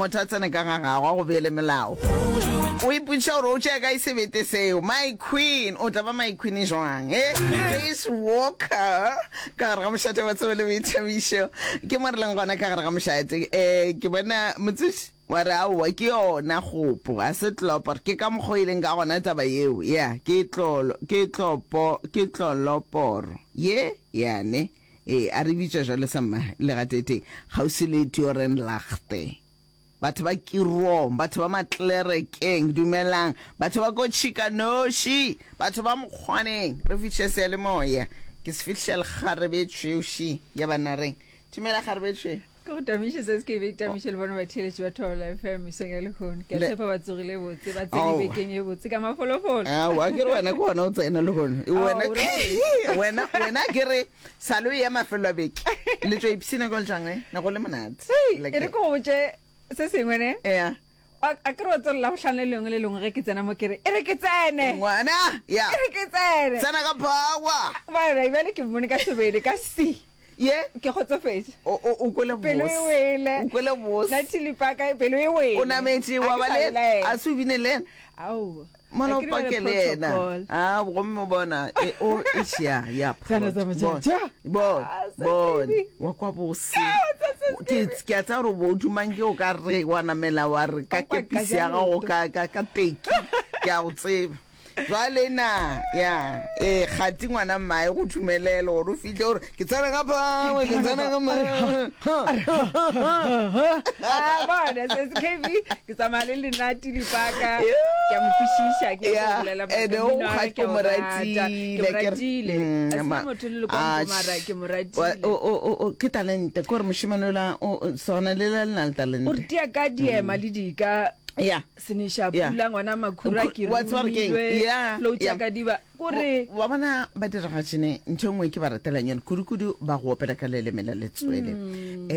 Motho a tsene ka ga gago a go beele melao. O ipotšiša gore o tšea kae sebete seo. My queen, o tla ba my queen jwang? Eh? Grace Walker ka gare ga mošate wa tsebo le boithabišo. Ke mo re leng gona ka gare ga mošate. Eh, ke bona motsoši wa re aowa ke yona kgopo, ga se tlopor. Ke ka mokgwa o e leng ka gona taba yeo. Ya, ke tlolo, ke tlopo, ke tloloporo. Ye, yane. Ee, a re bitša jwale sa mma legateteng, kgauswi le Tiorenlaagte. Batho ba Kirong, batho ba Matlerekeng, dumelang. Batho ba ko Tšhikanoši, batho ba Mokgwaneng, re fihliša seyalemoya. Ke se fihliša lekgarebe tšhweuši ya Banareng. Dumela kgarebe tšhweu. Ke go tamiše se se ke be tamiše le bona batheeletši ba Thobela FM mesong ya lehono. Ke a tshepa ba tsogile botse, ba tsene bekeng e botse ka mafolofolo. Aowa, ke re wena ke gona o tsena lehono. Wena wena wena ke re sale o ya mafelo a beke. Le tšwa ipshina kwa jang eh? Ne go le monate. E re ke go botše se sengwe ne? Yeah. A ke re wa tswelela go hlano le lengwe le lengwe ge ke tsena mo ke re e re ke tsene. Ngwana, ya. E re ke tsene. Tsena ka power. Bana, bjale ke mmone ka sebele ka si. Ye. Ke kgotsofetše. O, o, o kwele bose. Pelo e wele. O kwele bose. Nathi Lipaka, pelo e wele. O nametše wa ba le, a se o bine le yena? Aowa. Mola o pake le yena. A, gomme o bona, e, o, eish, ya, ya, Bona, bona, bona, wa kwa bose. Ke, ke a tseba gore o bo o dumang ke o ka re wa namela wa re ka kepisi ya gago ka, ka, ka teki. Ke a go tseba. Jwale na ya ee kgati ngwana mmae go dumelele gore o fihle gore ke tsena ka phangwe ke tsena ka Ah, bona se se KB ke tsamaya le lenati dipaka ke a mo kwešiša ke ya go bolela ene o mmino wa kgati ke o a mo o rata. Ke ratile mo ke re- ratile Mm, a se ma- motho le le ah, kwa mara ke mo wa- ratile o- o- o- o- ke talente ke gore mošemane ola o- o- sona le la le na le o talente re tia ka diema le dika ya Seneša Yeah. pula ngwana makhura ke Wa tseba gore keng? romilwe Yeah, flow yeah. tša ka diba kore wa bona badiragatšene ntho e nngwe ke ba ratelang yone kudu-kudu ba go opela ka leleme la letswele um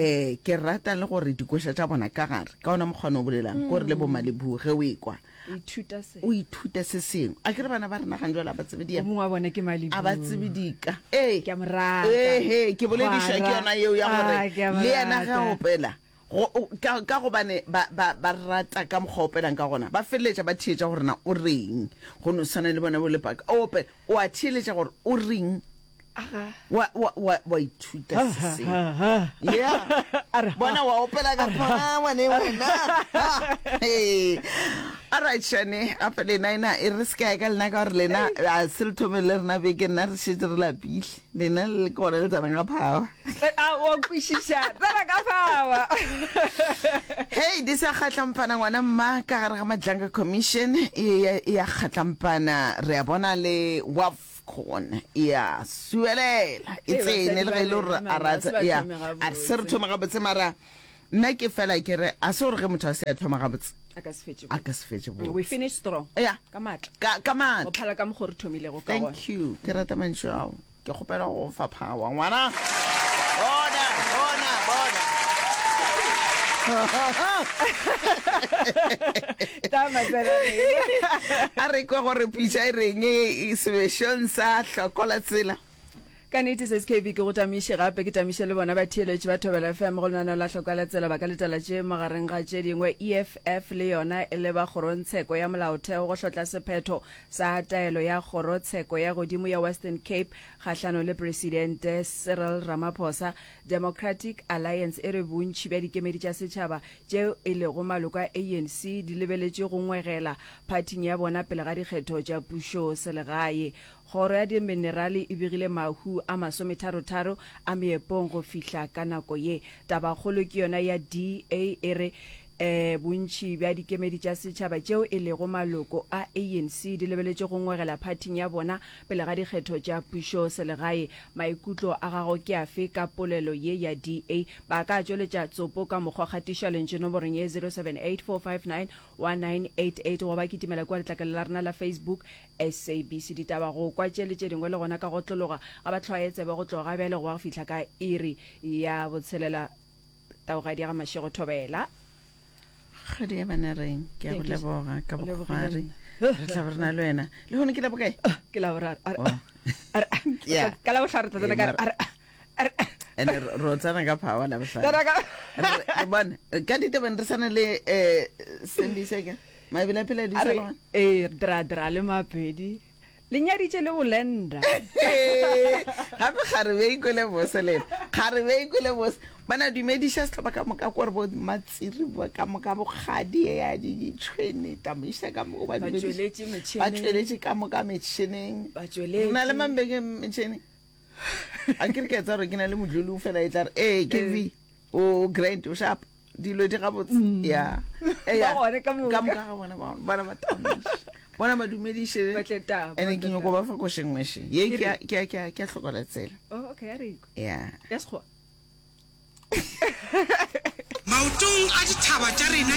ke rata le gore dikoša tša bona ka gare ka ona mokgwane o bolelang kore le bomalebu ge o ekwa o ithuta se o ithuta se sengwe a ke re bana ba rena gang jale a ba tsebe o diema mongwe wa bona ke malebu a ba tsebe dika ee Ke a mo rata. ee ke boledišwa ke Gwara. yona yeo ya gore Ah, ke a mo le yena ge a rata. opela Go, ka, ka gobane ba, ba, ba rata ka mokgwa o opelang ka gona, ba feleletša ba theetša gore na o reng. Go no swana le bona bo Lepaka. O opela, o a theeletša gore o reng. Wa, wa, wa, wa ithuta se sengwe. Yeah. Bona wa opela ka power ne wena. Ha. Hey. All right, Shane, gape lena ena e re se ka ya ka lena ka gore lena a se le thome le rena beke nna re šetše re lapile. Lena le ke gona le tsenang ka power. A o kwešiša tsena ka power. Hei, di sa kgatlampana ngwana mma ka gare ga Madlanga Commission e e ya kgatlampana re a bona le Wafcon e ya suelela e tsene le ge e le gore a rata ya a se re thome gabotse mara nna ke fela ke re a se gore ge motho a se a thoma gabotse a ka se fetše a ka se fetše botse we finish strong ya ka matla ka ka matla go phala ka mokgo re thomilego ka gona thank you ke rata mantšu ao Ke kgopela go go fa power, ngwana. Bona, bona, bona. A re kwe gore pitša e reng sebešong sa hlokola tsela. Ka nnete se SKB ke go tamiše gape ke tamiše le bona batheeletši ba Thobela FM go lenaneo la Hlokola Tsela ba ka letela tše magareng ga tše dingwe EFF le yona e leba kgorongtsheko ya molaotheo go hlotla sephetho sa taelo ya Kgorotsheko ya Godimo ya Western Cape kgahlanong le Presidente Cyril Ramaphosa, Democratic Alliance e re bontši bja dikemedi tša setšhaba tšeo e lego maloko a ANC di lebeletše go ngwegela phathing ya bona pele ga dikgetho tša pušoselegae. Kgoro ya Diminerale e begile mahu a masometharotharo a meepong go fihla ka nako ye. Tabakgolo ke yona ya DA e re Bontši bja dikemedi tša setšhaba tšeo e lego maloko a ANC di lebeletše go ngwegela phathing ya bona pele ga dikgetho tša pušoselegae. Maikutlo a gago ke afe ka polelo ye ya DA? Ba ka tšweletša tsopo ka mokgwa kgatišwa lentšu nomorong ye 0784591988 goba kitimela kua letlakaleng la rena la Facebook SABC Ditaba go kwa tše le tše dingwe le gona ka go otlologa ga ba hlwaye tsebe go tloga ga bjale go ba go fihla ka iri ya botshelela. Taugadi ya ga Mashego Thobela. Kgadi ya bana reng ke a go leboga ka bokgwari nna. re tla be re na le wena le gone ke la bokae Ke la boraro. A re, Oh. a re, Yeah. Ka la bohlano re tla tsena ka re, a re, a re. Ene ro tsena ka power la bohlano. Re bone ka ditabeng re sane le eh Sembise ke. Mabele a phela di sa gona. Eh dra dra le mapedi. Le nyaditše le bolenda. Gape kgarebe e kwele bose le ena. Kgarebe e kwele bose. Bana dumediša sehlopha ka moka kore bo matsiri ba ka moka bokgadi ya di ditšhwene tamiša ka moka ba dumediša. Ba tšweletše ka moka metšhineng. Ba tšweletše. Na le mambeke metšhineng. A ke re ke tsa gore ke na le modlulu fela e tla re ee ke v o grand o sharp. Dilo di gabotse. Mm. Ya. Eya. Ba gone ka moka. Ka moka ga bona ba bona ba tamiša. Bona ba dumediše. Ba tle taba. Ene ke nyoko ba fa košeng ngweše. Ye ke ke ke ke hlokola tsela. Oh okay, a re. Ya. Ya sekgowa. Maotong a dithaba tša rena.